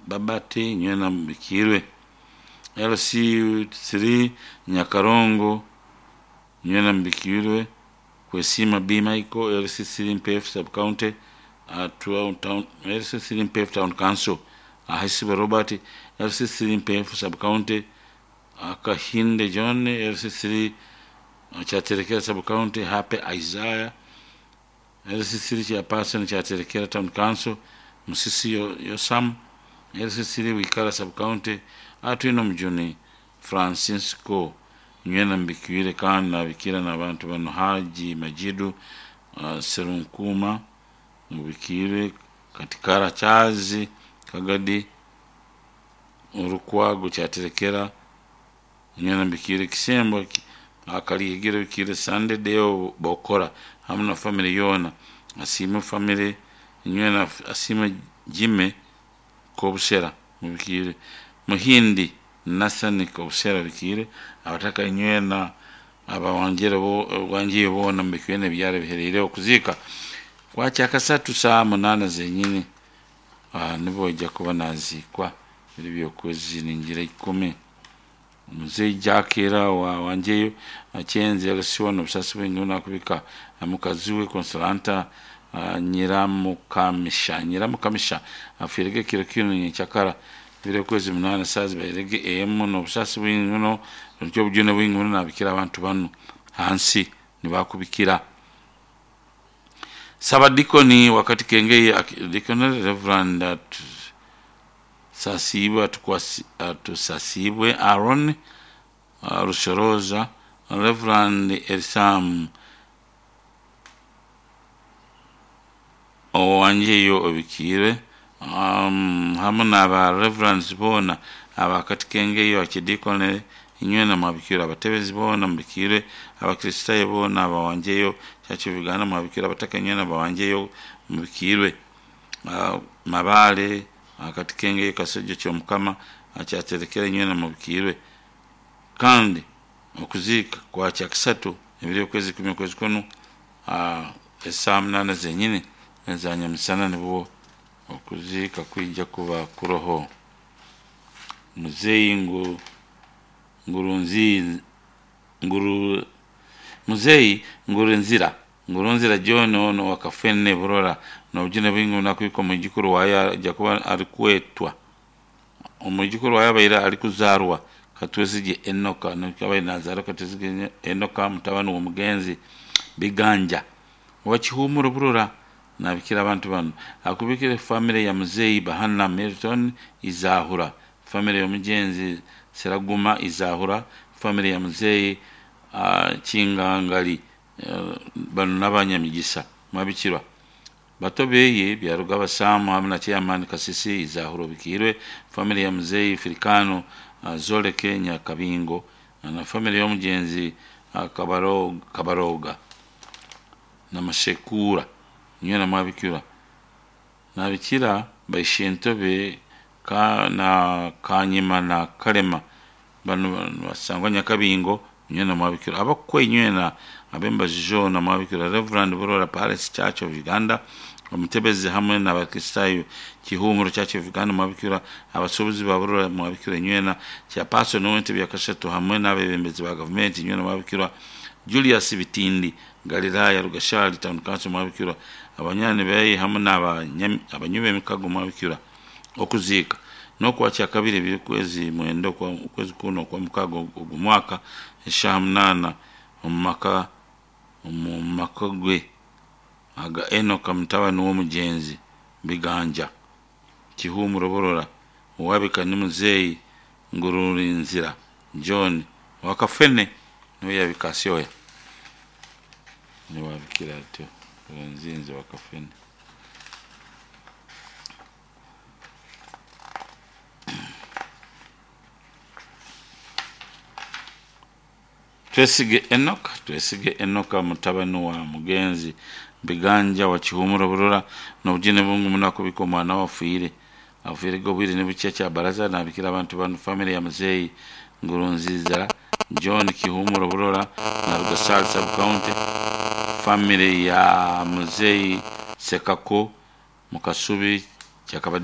Babati nywena mubikirwe. LC3 Nyakarongo nywena mubikirwe. Kwesima B Michael LC3 Mpefu Sub County town LC3 Mpefu Town Council Ahisiba Robert LC3 Mpefu Sub County Akahinde John LC3 Kyaterekera Sub County Hape Isaiah LC3 Chairperson Kyaterekera Town Council Musisi Yosam LC3 Wikara Sub County Atwine Omujuni Francisco nywena mbikiwire kandi nabikira n'abantu bano Haji Majidu Serunkuma mubikirwe Katikara Chazi Kagadi Orukwago Kyaterekera nywena mbikire Kisembo Akalihigiro bikire Sunday Deo Bokora hamu na family yoona Asiime family nywena Asiime Jime Kobusera mubikire Muhindi Nathan Kobusera bikire abataka nywena abawanjire bo wanjiye boona mubikire nebyaro biherire okuziika kwakyakasatu saaha 8 zenyini nibwo ojja kuba naziikwa biri byokwezi ningira 10 Muzeyi Jack era wanjeyo Achenze LC1 obusasi bwingi nakubika mukazi we Consolanta Nyiramukamisha afiirege ekiro kinu nyenkyakara biri okwezi 8 saaha zibairege emu n'obusasi bwingi muno nikyo obujune bwingi muno nabikira abantu banu hansi nibakubikira. Sabadikoni wakati Kengei Deacon Reverend Atusasibwe Aaron Rushoroza Reverend Elisam Owanjeyo Obikiire hamu n'aba Reverends boona abakati Kengeyo Archdeacon inywena mwabikirwe abatebezi boona mubikirwe abakristayo boona abawanjeyo Church of Uganda mwabikirwe abataka inywena abawanjeyo mubikirwe Mabale akati Kengeyo Kasujju Kyomukama akyaterekera inywena mubikirwe kandi okuziika kwa kyakisatu ebiri okwezi 10 okwezi kunu esaaha 8 zenyini eza nyamisana nibwo okuziika kwija kuba kuroho. Muzeyi Ngurunzira John ono wakafene Burora n'obujune bwingi nakubika omwijukuru waye aja kuba arikwetwa omwijukuru waye abaire arikuzaarwa Katwesigye Enoka abaire nazaarwa Katwesigye Enoka mutabani w'omugenzi Biganja owakihumuro Burora nabikira abantu banu akubikire family ya Muzeyi Bahana Milton Izahura family y'omugenzi Seraguma Izahura family ya Muzeyi Kingangali banu n'abanyamigisa mwabikirwa bato beye Byaruga Basamu hamu na chairman Kasisi Izahura Obikirwe family ya Muzeyi Firikano Zoleke Nyakabingo na family y'omugenzi Kabaroga na Mashekura nywena mwabikirwa nabikira baishentobe na Kanyima na Kalema banu basangwa Nyakabingo nywena mwabikirwa abakwe nywena abembazi joona mwabikirwa Reverend Burora Palace Church of Uganda omutebezi hamwe n'abakristayo Kihumuro Church of Uganda mwabikirwa abasuubuzi ba Burora mwabikirwa nywena chairperson w'entebe ya kashatu hamwe n'abebembezi ba gavumenti nywena mwabikirwa Julius Bitindi Galilaya Rugashali Town Council mwabikirwa abanyani beye hamwe n'abanywi b'emikago mwabikirwa okuziika n'okwakya kabiri ebiri kwezi 9 okwezi kuno okwa mukaga ogu mwaka eshaaha 8 omu maka gwe aga Enoka mutabani w'omugenzi Biganja Kihumuro Burora owabika ni Muzeyi Ngururinzira John wakafene niwe yabika asyoya niwe wabikira atyo Ngurunzinze wakafene. Twesige Enoka mutabani wa mugenzi Biganja wa Kihumuro Burora n'obujune bungi muno akubika omwana we afiire afiirege obwire nibukya kyabaraza nabikira abantu banu family ya Muzeyi Ngurunziza John Kihumuro Burora na Rugasali Sub County family ya Muzeyi Sekako Mukasubi Kyakabadi.